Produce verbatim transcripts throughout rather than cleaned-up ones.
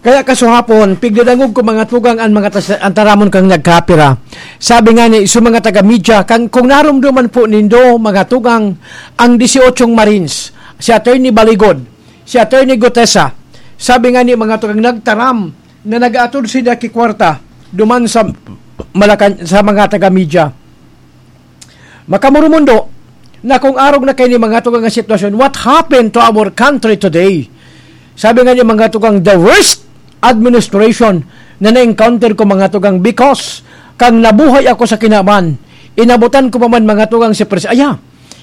Kaya kasuhapon, pigdadangog ko, mga tugang, an mga tas-, an taramon kang nagkapira. Sabi nga ni, sa mga taga-media, kang, kung narumduman po nindo, mga tugang, ang dieciocho Marines, si Attorney Baligod, si Attorney Gutesa, sabi nga ni, mga tugang, nagtaram na nag-aatod sila ki kwarta duman sa Malacan-, sa mga taga-media. Makamurumundo na kung arog na kaini, mga tugang, nga sitwasyon, what happened to our country today? Sabi nga ni, mga tugang, the worst administration na na-encounter ko, mga tugang, because kang nabuhay ako sa kinaban, inabutan ko pa man, mga tugang, si Pres-, aya,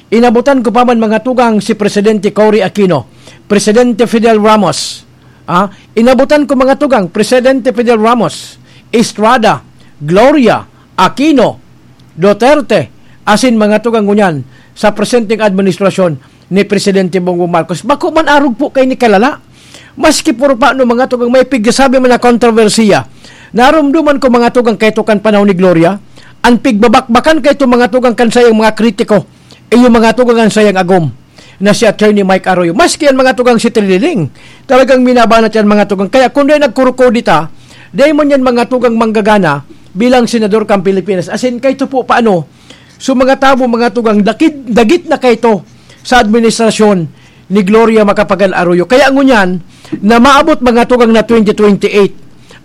inabutan ko pa man, mga tugang, si Presidente Cory Aquino, Presidente Fidel Ramos, ah, inabutan ko, mga tugang, Presidente Fidel Ramos, Estrada, Gloria, Aquino, Duterte, asin mga tugang ngunyan sa presenteng administrasyon ni Presidente Bongbong Marcos. Bako man arog po kaini kalala. Maski puro pa ano, mga tugang, may pigsasabi man na kontrobersiya. Narumduman ko, mga tugang, kaito kan panahon ni Gloria, an pigbabakbakan kaito, mga tugang, kan sayang mga kritiko, iyo, mga tugang, an sayang agom na si Attorney Mike Arroyo. Maski yan, mga tugang, si Trililing, talagang minabanat yan, mga tugang. Kaya kung dai nagkurukodita, dai man yan, mga tugang, manggagana bilang senador kan Pilipinas. Asin kaito po paano, so, mga tawo, mga tugang, dakid, dagit na kaito sa administrasyon ni Gloria Macapagal Arroyo. Kaya ngunyan, na maabot, mga tugang, na twenty twenty-eight,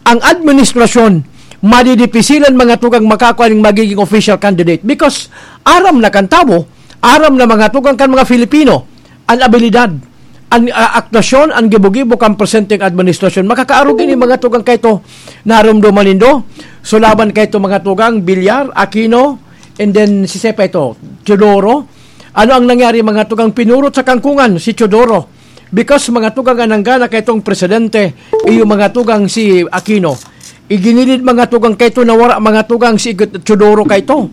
ang administrasyon, madidipisilan, mga tugang, makakua ning magiging official candidate. Because aram na kan tawo, aram na, mga tugang, kan mga Filipino, an abilidad, an, ah, aktuasyon, an gibo-gibo kan presenteng administrasyon. Makakaarog ini, mga tugang, kaito, narumduman nindo. So, laban kaito, mga tugang, Villar, Aquino, and then si Sepa ito, Teodoro. Ano ang nangyari, mga tugang? Pinurot sa kangkungan si Teodoro. Because, mga tugang, an nanggana kaitong presidente, iyo, mga tugang, si Aquino. Iginilid, mga tugang, kaito, nawara, mga tugang, si Teodoro kaito.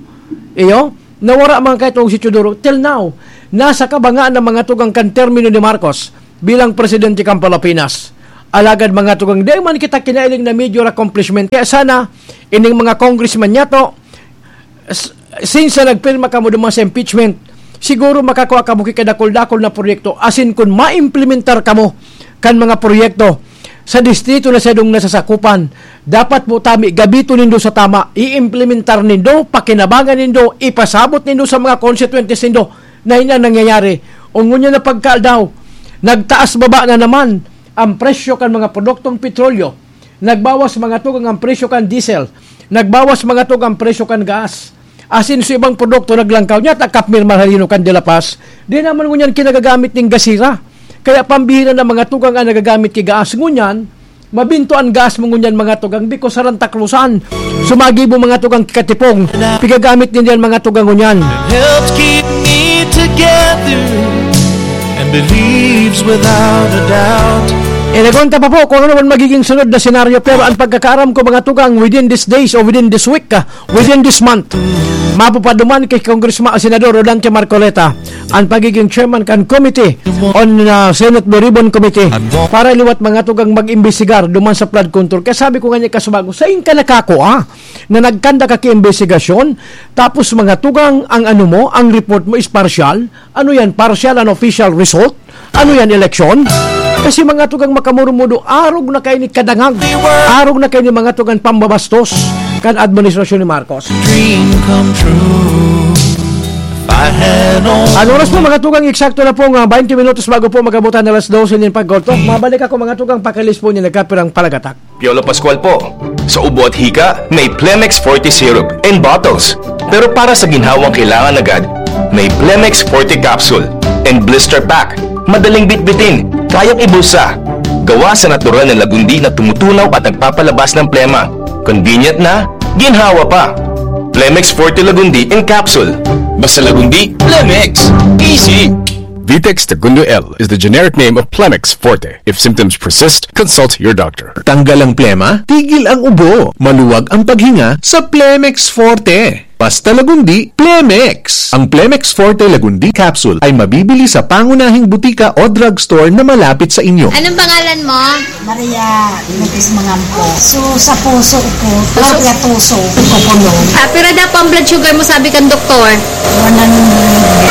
Iyo, nawara, mga kaitong si Teodoro. Till now, nasa kabangaan na, mga tugang, kan termino ni Marcos bilang presidente kan Pilipinas. Alagad, mga tugang, di man kita kinailing na major accomplishment. Kaya sana, ining mga congressman niya to, s-, since na nagpirma kamo duman sa impeachment, siguro makakua kamo ki kadakul-dakul na proyekto, asin kun maimplementar kamo kan mga proyekto sa distrito na sadong nasasakupan, dapat po tami, gabito nindo sa tama, iimplementar nindo, pakinabangan nindo, ipasabot nindo sa mga constituentes nindo na ini ang nangyayari. O ngunyan na pagkaaldaw, nagtaas baba na naman ang presyo kan mga produktong petrolyo. Nagbawas, mga tugang, ang presyo kan diesel. Nagbawas, mga tugang, ang presyo kan gas. Asin sa ibang produkto naglangkaw. Niya, takap mirmar halino kan De La Paz. Di naman ngunyan kinagagamit ning gasira. Kaya pambihira na, mga tugang, ang nagagamit ki gas. Ngunyan, mabinto an gas mo ngunyan, mga tugang, because sa rantaklusan. Sumagi mo, mga tugang, katipong. Pigagamit din yan, mga tugang, ngunyan. Helps keep me together and believes without a doubt. Inagonta pa po kung ano man magiging sunod na senaryo, pero ang pagkakaaram ko, mga tugang, within these days o within this week, ah, within this month, mapupaduman kay Congressman, Senador Rodante Marcoleta ang pagiging chairman kan committee on, ah, Senate Blue Ribbon Committee para liwat, mga tugang, mag-imbestigar duman sa flood control. Kaya sabi ko nga niya, kasubago, sain ka nakakua na nagkanda ka ki imbestigasyon, tapos, mga tugang, ang ano mo, ang report mo is partial? Ano yan? Partial and official result? Ano yan, eleksyon? Kasi, mga tugang, makamurumudo, arog na kaini kadangag. Arog na kaini, mga tugang, pambabastos kan administrasyon ni Marcos. Dream come true. If I had only Ang oras po, mga tugang, eksakto na pong, ah, twenty minutos bago po mag-abot ang alas dose nin pagkotop. Mabalik ako, mga tugang, pakilis po niya nagkapirang palagatak. Piolo Pascual po. Sa ubo at hika, may Plemex Forte Syrup in bottles. Pero para sa ginhawang kailangan agad, may Plemex Forte Capsule and Blister Pack. Madaling bitbitin, kayang ibulsa. Gawa sa natural na lagundi na tumutunaw at nagpapalabas ng plema. Convenient na, ginhawa pa. Plemex Forte Lagundi in Capsule. Basta Lagundi, Plemex. Easy! Vitex Tagundo L is the generic name of Plemex Forte. If symptoms persist, consult your doctor. Tanggal ang plema, tigil ang ubo, maluwag ang paghinga sa Plemex Forte. Basta Lagundi, Plemex! Ang Plemex Forte Lagundi Capsule ay mabibili sa pangunahing butika o drugstore na malapit sa inyo. Anong pangalan mo? Maria, Lutis Mangampo. So, sa puso ko, puso? Sa puso, kukulong. Ah, pira daw po ang blood sugar mo, sabi kan doktor? one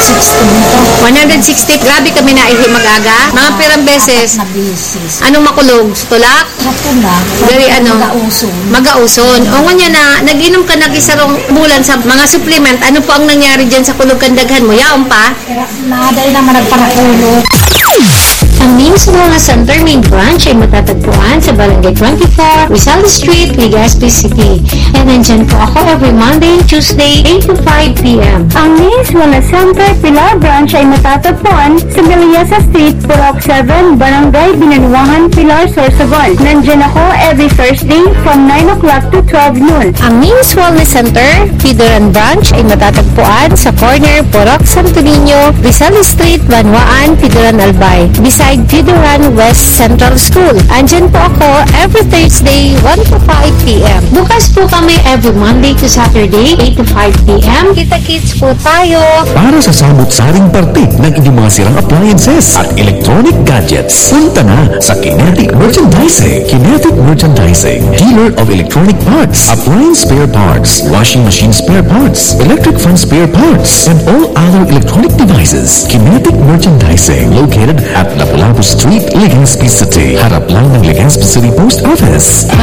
sixty dito. one sixty. Grabe kami naihi mag-aga. Mga pirang beses. Na bisis. Anong makulog? Tulak? Sa pula. Very ano? Magauson. Magauson. O nga niya na, nag-inom ka nag-isarong bulan sa mga supplement. Ano po ang nangyari dyan sa kulog kandaghan mo? Yaon pa? Naday naman nagparakulo. Ang Names Wellness Center main branch ay matatagpuan sa Barangay twenty-four, Rizal Street, Legazpi City. And nandyan po ako every Monday and Tuesday, eight to five p.m. Ang Names Wellness Center Pilar branch ay matatagpuan sa Meliasa Street, Purok seven, Barangay Binanuahan, Pilar, Sorsogon. Nandyan ako every Thursday from nine o'clock to twelve noon. Ang Names Wellness Center, Pidoran Branch ay matatagpuan sa corner Purok Santo Niño, Rizal Street, Banwaan, Pidoran, Albay, beside Pidoran West Central School. Andyan po ako every Thursday, one to five p.m. Bukas po kami every Monday to Saturday, eight to five p.m. Kita-kits po tayo. Para sa samot-saring parte ng inyong mga sirang appliances at electronic gadgets, punta na sa Kinetic Merchandising. Kinetic Merchandising, dealer of electronic parts, appliance spare parts, washing machine spare parts, electric fan spare parts, and all other electronic devices. Kinetic Merchandising, located at Lapu-Lapu Street, Legazpi City. Harap lang ng Legazpi City Post Office. At